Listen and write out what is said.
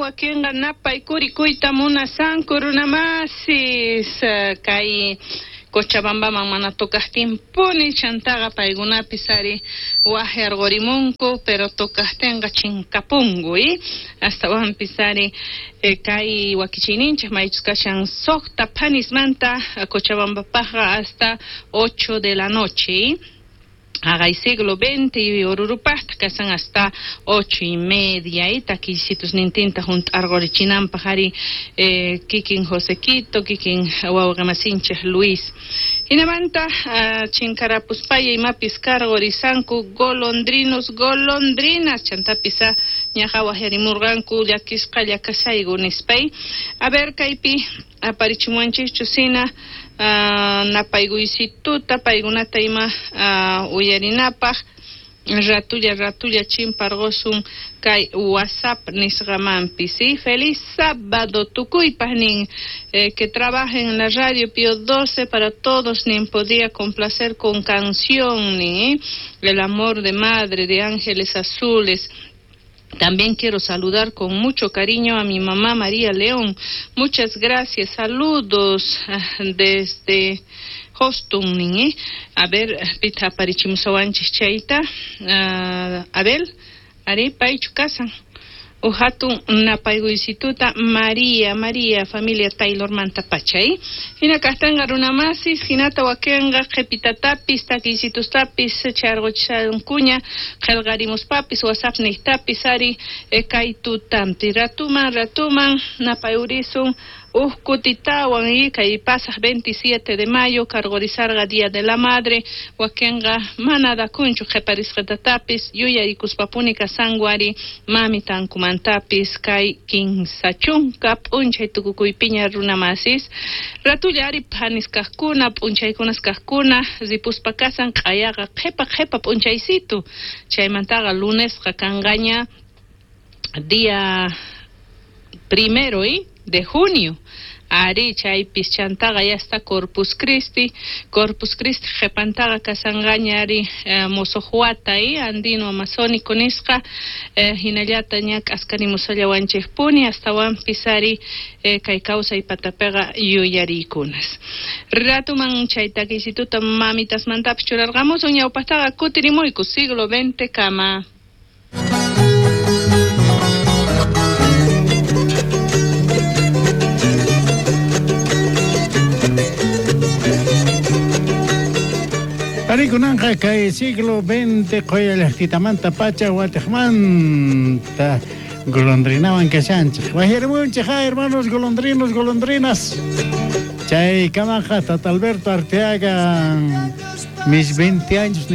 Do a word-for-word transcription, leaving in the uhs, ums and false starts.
Wakinqa napaykurikuyta munasanku runamasis kay Cochabambaman mana tocajtinpuni chantaqa paykunapis ari waqyarqurimunku pero tocajtinqa chinkapunku y astawanpis ari eh, kay wakichiyninchik maychus kashan suqta phanismanta Cochabambapaqqa hasta ocho de la noche. Hagay siglo veinte y Orurupaqta kasan hasta ocho y media y takillsitus nintinta junt'arqurichinanpaq ari eh, kikin Josequito, kikin wawqamasinchik Luis. Hinamanta uh, chinkarapuspaya imapis karqurisanku golondrinos, golondrinas, chantapis ñaqa waqyarimurqanku llakisqa llakasayku nispay. A ver kaypi aparichimuanchikchu sina Uh, napaykuysituta paykunata ima uh, uyarinapaq ratulla ratulla chimparqusun kay WhatsApp nisqamanpis. ¿Sí? Feliz sábado tukuypaq nin eh, que trabajen en la radio Pío doce para todos nin podía complacer con canción nin, ¿eh? El amor de madre de Ángeles Azules. También quiero saludar con mucho cariño a mi mamá María León. Muchas gracias. Saludos desde Houston, ¿eh? A ver, pita aparichimusawanchis chayta. Uh, Abel, ari paychu kasan. Uhatun napaykuysituta María, María, familia Taylor manta pachay. Hina kaqtanqa runamasis, hinata wakinqa qhipitatapis, takiysitustapis, charquchankuña, qillqarimuspapis, WhatsApp niqtapis, ari kay tutampi. Ratuman, ratuman, napayurisun, uj kutitawan y kay pasaq veintisiete de mayo, karqurisarqa Día de la Madre, wakinqa mana dakunchu qhiparisqatatapis, yuyarikuspapuni kasanku ari mamitankumantapis kay kinsa chunka p'unchay tukukuypiña runamasis. Ratulla ari phanis kaqkuna, p'unchaykunas kaqkuna, ripuspa kasan q'ayaqa qhipa qhipa p'unchaysitu. Chaymantaqa lunesqa kanqaña día primero y de junio. Ari chaypis chantaqa ya está Corpus Christi, Corpus Christi qhipantaqa kasanqaña ari eh, mosojuata y andino amazónico nisqa eh, hinallata ña k'askarimusallawanchikpuni astawanpis ari eh, kay kawsay patapiqa yuyariykunas. Ratuman chay takiysituta mamitasmantapis churarqamusun ñawpaqtaqa kutirimuyku siglo veinte kama. Arikunanqa kay siglo veinte qoya llaqtitamanta pacha watiqmanta golondrinawan kashanchik. Wajirmunchik, hermanos golondrinos, golondrinas. Chay kamaqa Tata Alberto Arteaga mis veinte años.